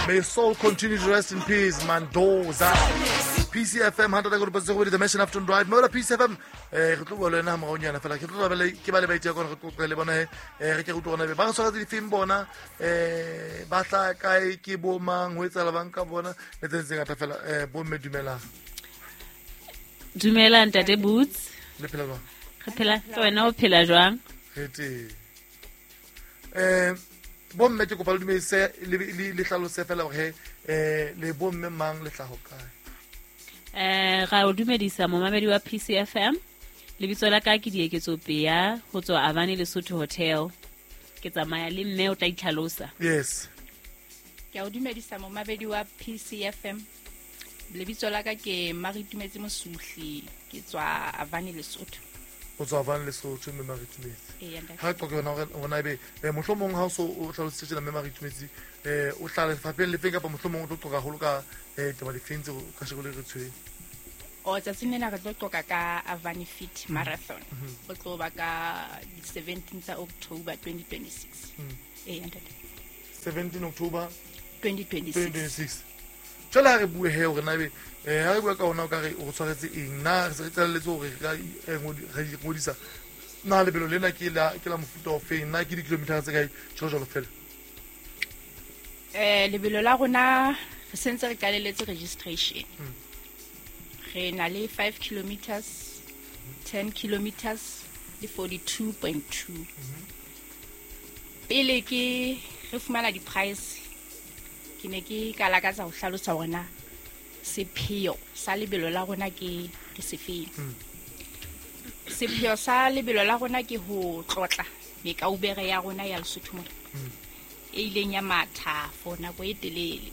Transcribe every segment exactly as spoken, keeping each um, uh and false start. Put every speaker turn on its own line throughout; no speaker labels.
May soul continue to rest in peace, Mandoza. P C F M hundred the Mission Afternoon Drive. Mola P C F M eh re tlo bua le wena moraonyana fela ke tlo ba ke ba le baitse ka re tlo le bona eh re ke go tlo bona ba re tshwara difilm bona eh ba tla kae ke bo mang ho etsala bang ka bona le tse tse ngata fela eh bo mme dumela.
Dumela ntate Boots.
Le phela jwang?
Re phela ke wena o phela jwang?
Re teng. Eh bo mme ke kopa le dumedise le le hlalose fela hore eh le bo mme mang le hlaho kae.
Eh ra o dumedisa momamedi wa P C F M. Lebitso la ka ke Dieketso Pea ho tswa Avani Lesotho Hotel. Ke tsamaya le mme o tla itlhalosa.
Yes.
Ke o dumedisa momamedi wa P C F M. Lebitso la ka ke Maritumetse Mosuhli, ke tswa Avani Lesotho.
O tswa Avani Lesotho mme Maritumetse. Ha qoqe yona hore ona ebe mohlomong ha o so o hlalositse tjena mme Maritumetse eh o hlale lefapheng lefeng kapa mohlomong o tlo qoqa haholo ka eh taba difeng tse ka sheko le re tshweng.
O tsatsing lena re tlo qoqa ka Avani Fit Marathon. O tlo ba ka seventeen tsa October twenty twenty-six. Eh ntate.
seventeen October
twenty twenty-six.
Jwale ha re bue he hore na ebe eh ha re bua ka ona o ka re o tshwaretse eng na re se re qalelletse hore re ka re ngodisa na lebelo lena ke la ke la mofuta o feng na ke di-kilometer tse kae jwalo jwalo fela.
Eh lebelo la rona re sentse re qalelletse registration. Re na le five kilometers, ten kilometers le forty-two point two. Pele ke re fumana di-price ke ne ke ka lakatsa ho hlalosa hore na sepheo sa lebelo la rona ke ke sefeng. Sepheo sa lebelo la rona ke ho tlotla mekaubere ya rona ya Lesotho mona e ileng ya matha for nako e telele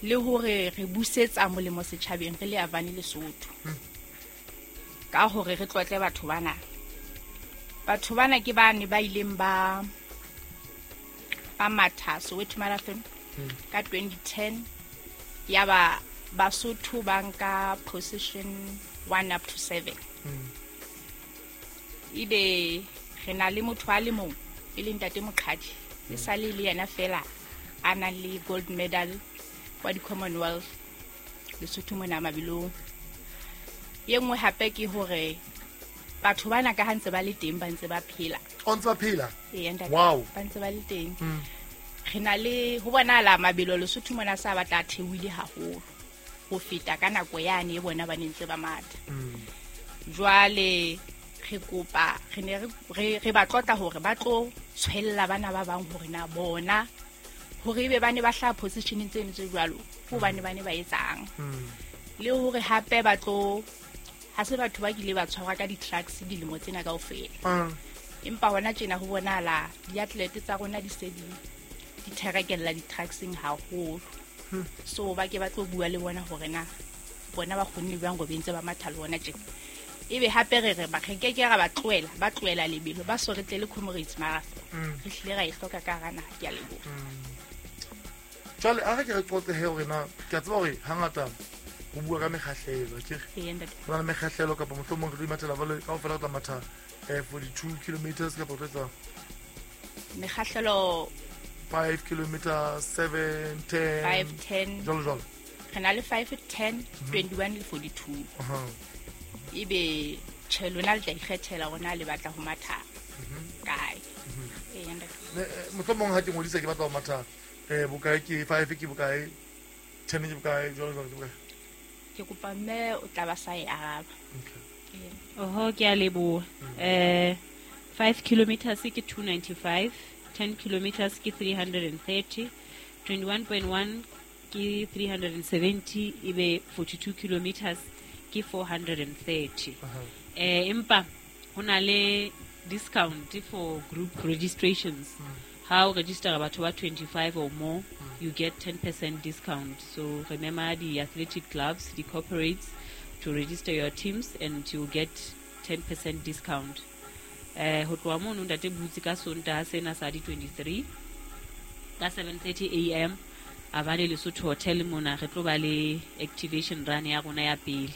le hore re busetsa molemo setjhabeng re le Avani Lesotho ka hore re tlotle batho bana. Batho bana ke bane ba ileng ba ba matha Soweto Marathon ka twenty ten ya ba Basotho ba nka position one up to seven. Ebe re na le motho a le mong e leng ntate Moqhadi e sale le yena fela a nang le gold medal kwa di Commonwealth Lesotho mona mabelong. Ye nngwe hape ke hore batho bana ka ha ntse ba le teng ba ntse ba phela.
O ntse ba phela?
Ee, ntate.
Wow.
Ba ntse ba le teng. Re na le ho bonahala mabelo Lesotho mona sa batla theohile haholo ho feta ka nako yane e bona ba ne ntse ba matha. Jwale re kopa re ne re re ba tlotla hore ba tlo tshwella bana ba bang hore na bona hore ebe ba ne ba hlaha positioneng tseno tse jwalo hobane ba ne ba etsang. Le hore hape ba tlo ha se batho ba kile ba tshwarwa ka di-trucks dilemo tsena kaofela. Empa hona tjena ho bonahala di-athlete tsa rona di se di di therekella di-truckseng haholo. So ba ke ba tlo bua le bona hore na bona ba kgonne jwang ho bentse ba matha le bona tjena. Ebe hape re re ba re ke ke ra ba tlohela ba tlohela lebelo ba so re tle le Comrades Marathon. Re hlile ra e hloka ka hara naha. Ke a leboha.
Jwale a re ke re qoqe he hore na ke a tseba hore hangata ho bua ka mekgahlelo ke
re
ho na le mekgahlelo kapa mohlomong re tlo imathela jwale kaofela re tla matha eh forty-two kilometers kapa re tlo etsa
mekgahlelo
five kilometers, seven, ten
five, ten
jwalo jwalo.
Re na le five, ten, twenty-one le forty-two. Ebe tjhe lona le tla ikgethela hore na le batla ho matha kae. Ee, ntate.
Mohlomong ha ke ngodisa ke batla ho matha eh bokae ke five ke bokae ten ke bokae jwalo jwalo ke bokae.
Ke kopa mme o tla ba sa e araba.
Okay.
Oho ke a leboha. Eh five kilometers ke two ninety-five, ten kilometers ke three hundred thirty, twenty-one point one ke three hundred seventy ebe forty-two kilometers ke four hundred thirty. Eh empa ho na le discount for group registrations. How register batho ba twenty-five or more, you get ten percent discount. So remember the athletic clubs, the corporates, to register your teams and you get ten percent discount. Eh ho tloha mono ntate Butse ka Sontaha sena sa di twenty-three ka seven thirty A M Avani Lesotho Hotel mona re tlo ba le activation run ya rona ya pele.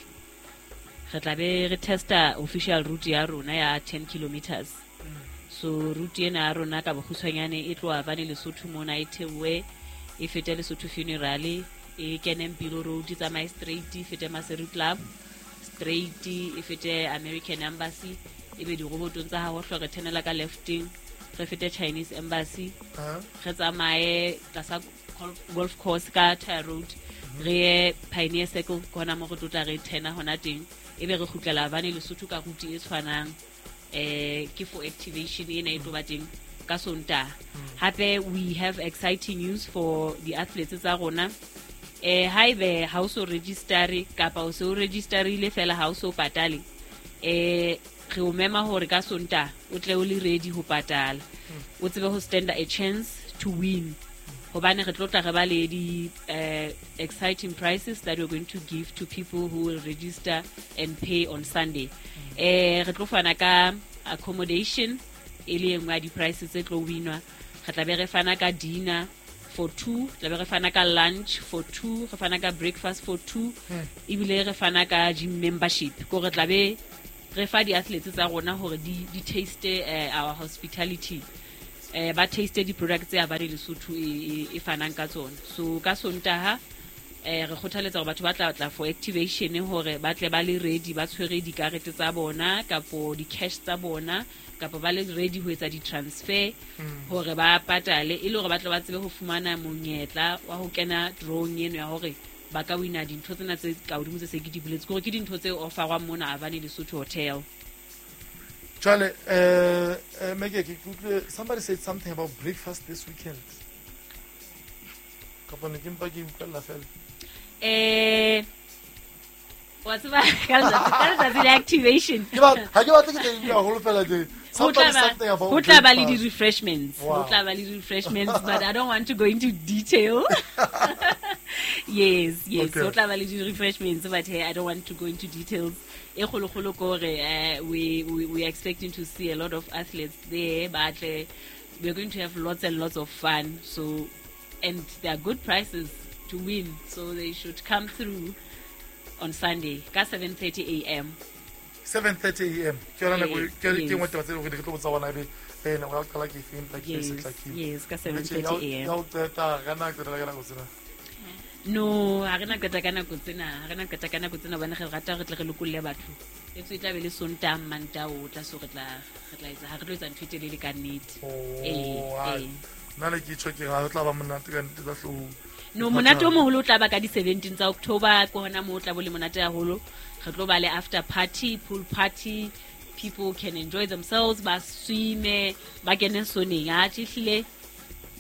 Re tla be re testa official route ya rona ya ten kilometers. So route ena ya rona ka bokgutshwanyane e tloha Avani Lesotho mona e theohe e fete Lesotho Funeral, e kene Mpilo Road, e tsamaye straight, e fete Maseru Club straight, e fete American Embassy, e be dirobotong tsa Hahohlo, re thenela ka lefteng, re fete Chinese Embassy, re tsamaye tlasa golf course ka Tire Road, re ye Pioneer Circle, ke hona mo re tlo tla re thena hona teng, e be re kgutlela Avani Lesotho ka route e tshwanang. Eh, ke for activation ena e tlo ba teng ka Sontaha. Hape we have exciting news for the athletes tsa rona. Eh, haebe ha o so register kapa o se o registerile fela ha o so patale, eh, re o mema hore ka Sontaha o tle o le ready ho patala, o tsebe ho stand a chance to win, hobane re tlo tla re ba le di eh, exciting prizes that we're going to give to people who will register and pay on Sunday. Eh, re tlo fana ka accommodation e le engwe ya di-prices tse tlo winwa. Re tla be re fana ka dinner for two, tla be re fana ka lunch for two, re fana ka breakfast for two, ebile re fana ka gym membership. Ko re tla be re fa di-athletes tsa rona hore di, di taste eh, our hospitality, eh, ba taste di-products tse Avani Lesotho e, e, e fanang ka tsona. So ka Sontaha eh, re kgothaletsa hore batho ba tla tla for activation hore ba tle ba le ready, ba tshwere dikarete tsa bona kapo di-cash tsa bona, kapa ba le ready ho etsa di-transfer hore ba patale, e le hore ba tle ba tsebe ho fumana monyetla wa ho kena drawing eno ya hore ba ka wina dintho tsena tse ka hodimo tse se ke di boletse, ke hore ke dintho tse offerwang mona Avani Lesotho Hotel.
Jwale, eh, eh, Meke, ke utlwile somebody said something about breakfast this weekend. Kapa ne ke mpa ke utlwella fela.
Eh, wa tseba ka letsatsi ka letsatsi la activation.
Ke ba ha ke batle ke tla haholo fela tje.
Ho tla
Somebody
ba-
something about
ho tla ba le
breakfast.
di-refreshments. Ho
Wow.
tla ba le di-refreshments, but I don't want to go into detail. Yes, yes.
Okay.
Ho tla ba le di-refreshments, but hey, I don't want to go into details. E kgolokgolo ke hore, eh, we, we, we are expecting to see a lot of athletes there, but eh, we're going to have lots and lots of fun. So, and there are good prizes to win, so they should come through on Sunday, ka seven thirty a m
seven thirty a m. Ke yona nako
Yes,
ke ke
yes.
nngwe taba tse leng hore re tlo botsa bona ebe eh nako ya ho qala ke efeng, empa ke
Yes,
se hlakile.
yes, ka
Mme tje,
seven thirty a m
ya ho qeta ka nako qetela ka nako tsena.
No, ha re na qeta ka nako tsena, ha re na qeta ka nako tsena, hobane re rata re tle re lokolle batho. Etswe e tla be le Sontaha, Mantaha o tla, so re tla re tla etsa, ha re tlo etsa ntho e telele ka nnete.
Oh,
Eh,
hai.
eh.
Nna le ke tjho ke re ha ho tla ba monate ka nnete tsa hloohong.
No, monate o moholo o tla ba ka di-seventeen tsa October, ke hona moo o tla bo le monate haholo. Re tlo ba le after party, pool party, people can enjoy themselves, ba swime, ba kene soneng. Atjhe, ehlile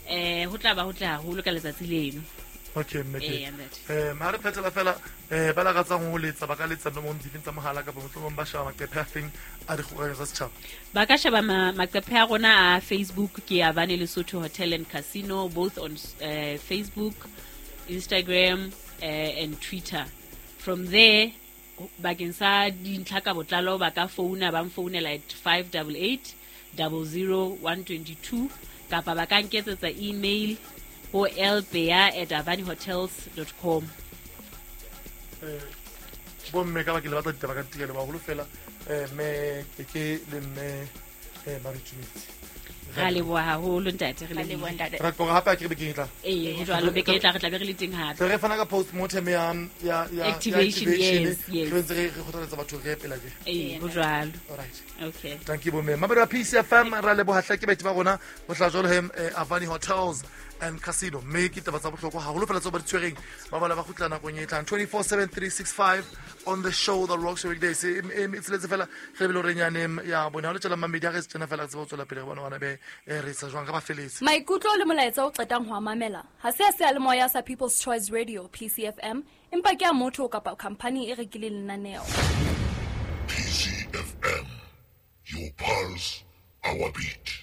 eh ho tla ba ho tle haholo ka letsatsi leno.
Okay, mme ke.
Eh, ntate.
Eh, ha re phethela fela, eh ba lakatsang ho letsa ba ka letsa nomorong difeng tsa mohala, kapa mohlomong ba sheba maqephe a feng a dikgokahanyo tsa setjhaba?
Ba ka sheba ma- maqephe a rona a Facebook, ke Avani Lesotho Hotel and Casino, both on uh, Facebook, Instagram uh, and Twitter. From there, bakeng sa dintlha ka botlalo, ba ka founa, ba mfounela at five eight eight zero zero one two two, kapa ba ka nketsetsa email ho lbea at avanihotels dot com.
Eh, bomme ka ba ke le batla ditaba ka ntikele baholo fela, eh mme Keke le mme eh Maritšumetsi.
Ra leboha haholo, ntate, re
Ra leboha,
lebohile.
Ntate.
Re tloga hape a ke re bekeng e tlang.
Ee, ho jwalo, beke e tla re tla be re le teng hape.
Tle re fana ka postmortem ya ya ya ya
Activation, yes, yes.
Re ntse re re kgothaletsa batho re epela ke.
Ee, ho jwalo.
Alright.
Okay.
Thank you, bomme. Mamedi wa P C F M, ra leboha hle ke baeti ba rona ho tla jwalo he eh, Avani Hotels and Casino, mme ke taba tsa bohlokwa haholo fela tseo ba di tshwereng. Ba bala ba kgutla nakong e tlang. Twenty-four seven three six five on the show, The Rocks Weekdays e e e tsheletse fela re lebele hore nyane ya bone ha o le tjela mamedi ha re se tjena fela re tsebe ho tswela pele re bone hore be eh, re etsa jwang ka ba feletse.
Maikutlo le molaetsa o qetang ho a mamela ha se a seyalemoya sa People's Choice Radio, P C F M, empa ke a motho kapa khamphani e rekileng lenaneo.
P C F M. Your pulse, our beat.